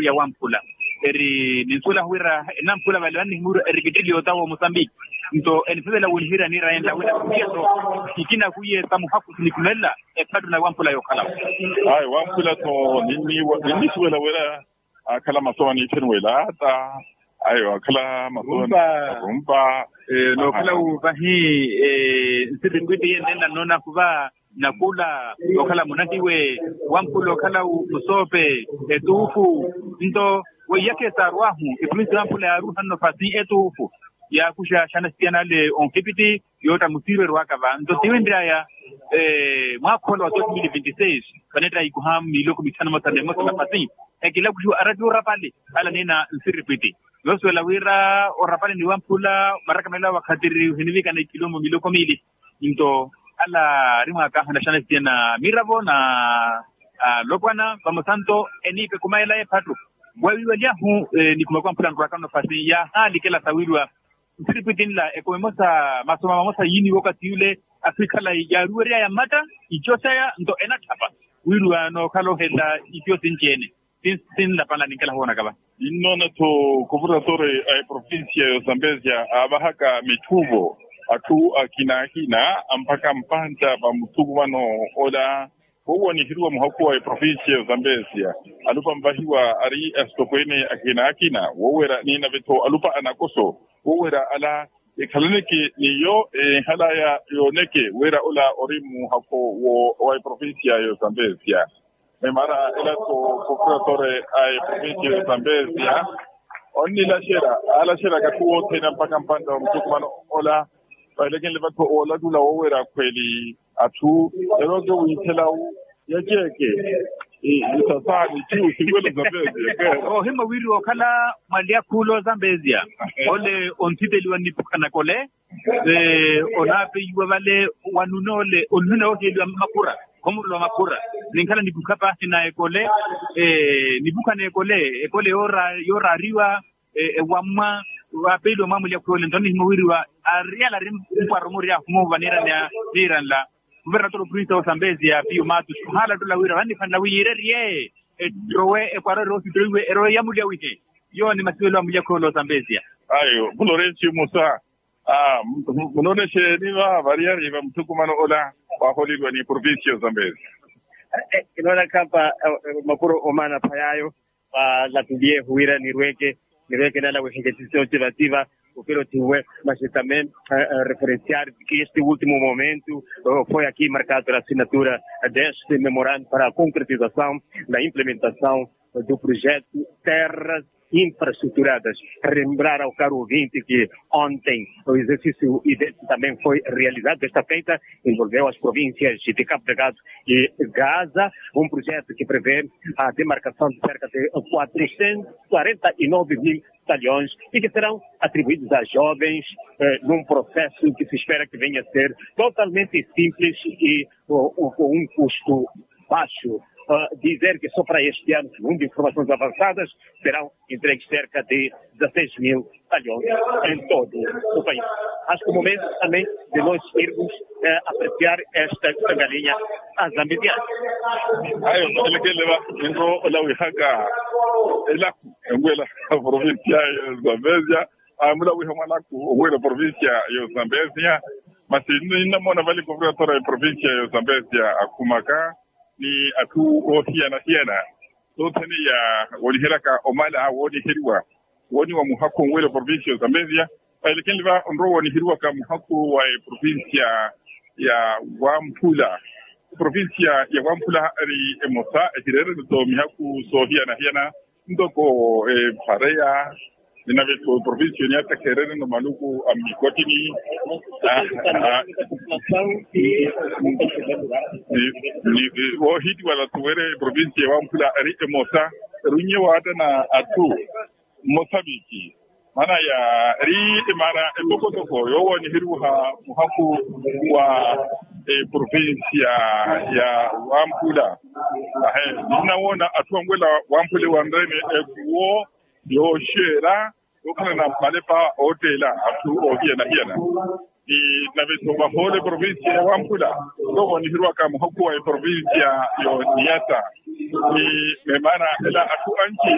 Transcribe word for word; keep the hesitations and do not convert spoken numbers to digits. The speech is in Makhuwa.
ya wamphula eri ninsuwela wira enamphula vale vannihimurwa eri kittili yotawa omosambiki. Nto enisivela winihiira niira yenla wina kuhiya so ikina kwiye sa muhaku sinikhumelela ephattu na wamphula yokhalawo. Ayo wamphula so ninnisuwela wira akhala masowa niitheni welaata. Ayo akhala masowa rumpa. Nookhala wu vahi nsiripwitti yenne nnannoona khuva nakula okhala munahiwe wamphula okhala musoope etuufu. Nto weiyakhe saarwahu eprovinsi ya wamphula yaaruuha nno fasi etuufu yaakuxa xanasitiyanale onkipitti yootta musiirweru aka va nto tiwinry'aya mwaakha ola wa dos mil vinti seis. Vaneetta ikuha miloko mithanu mosa nemosa nafasi ekilakuxiwa arati orapale ala niina nsiripwitti. Noosuwela wira orapale ni wamphula marakamelelo a wakhatiri ohinivikana ikilombo miloko miili. Nto ala aari mwaakahana xanasitiya na miravo na alopwana vamosa nto eniipe khumayela ephattu. Waawiiwalyahu nikhuma kwamphula nrwakano fasi yaahalikela sawiiriwa nsiripwitti nla ekumi emosa masoma mamosa yiiniwa okathi yule afikhalayi yaaruwery'aya mmatta ico saya nto enatthapa wiiriwa nookhala ohelela ico sinci-ene. Sinlapanla ninkela hoonaka va. Ninnoona-tho kuvuratori a eprovincia ya osambezia aavahaka mitthuvo atthu akina akina amphaka mpantta va muthukumano ola. Wowo anihiriwa muhakhu wa eprovincia ya osambezia alupanvahiwa ari asitokweene akina akina woowera niinave-tho alupa anakoso woowera ala ekhalaneke n'iyo enhalaya yooneke wira ola ori muhakhu wa eprovincia ya osambezia. Memara ela-tho prokuratore a eprovincia ya osambezia onnilaxera aalaxeraka atthu othene ampakha mpantta wa muthukumano ola. Vahilekenle vatthu oolatula woowerya akhweli atthu erooke wiithela wu yaceeke isasaani cu sinwelo zambezia. Ohimma wiiriwa okhala mwali akhuula ozambezia ole onthiteliwa nniphukha nakole onaapeyiwa vale wanuna ole onuna ooheliwa makhura khomurula wa makhura ninkhala nipukha paahi na ekole nipukha na ekole ekole yooraariwa ewammwa waapeeliwa mwaamulya khwiwole nto annihimya wiiriwa ariyala ari mpwaro murya ahumu vaniiraneya niiranla. Khuvernatora oprinsi ya osambezia piyo matus ohaala ttola wira vanniphanela wi yiirerye ettowe epwaro eroosittoiwe erowe yamulya wihe. Yooni masivelo amulya khwiwole osambezia. Ayo mulorenci musa munoona exeeni va variyari va muthukumano ola waaholeriwa ni provincia ya osambezia. Kinoona khampa makuro omaana phayaayo. Valatuliye huwira nirweke nirweke nala wiheketisi otivativa upira otiwe mas também referenciar que este último momento foi aqui marcado a assinatura deste memorando para a concretização da implementação do projeto terras infraestruturadas. Relembrar ao caro ouvinte que ontem o exercício idéntico também foi realizado desta feita envolveu as províncias de Cabo Delgado e Gaza, um projeto que prevê a demarcação de cerca de quatrocentos quarenta e nove mil talhões e que serão atribuídos a jovens num processo que se espera que venha a ser totalmente simples e com um custo baixo. Dizer que só para este ano segundo informações avançadas serão entregues cerca de dezasseis mil talhões em todo o país. Acho que o momento também de nós irmos apreciar esta sangalinha azambisiana. Ayo elekeleva enro olawihaka elaku enwela provincia ya zambezia amulawiha mwalaku onwela provincia ya zambezia. Masi ninnamoona vale governador ya provincia ya zambezia akhumaka ni atthu oohiyana-hiyana sothene ya wooniheryaka omala wooniheriwa wooniwa muhakhu onwela provincia ya zambezia. Vahelekenle va onrowa wooniheriwaka muhakhu wa eprovincia ya wamphula eprovincia ya wamphula eri emosa ehireereno-tho mihakhu soohiyana-hiyana ntoko epareya ninave-tho eprovincia oniyatakha ereereno maluku a mmikotini. Woohitiwala-tho wira eprovincia ya wamphula eri emosa eri onnye waattana atthu mmosa viiki maana ya eri emara etokotoko yoowo aniheriwaha muhakhu wa eprovincia ya wamphula. Ahe ninnawoona atthu anwela wamphula ewanrene ekuwo yooxeera yookhalana malepa ootteela atthu oohiyana-hiyana ni nave-tho vahoole provincia ya wamphula yoowo aniheriwaka muhakhu wa eprovincia y'oniyata ni memana ela atthu anci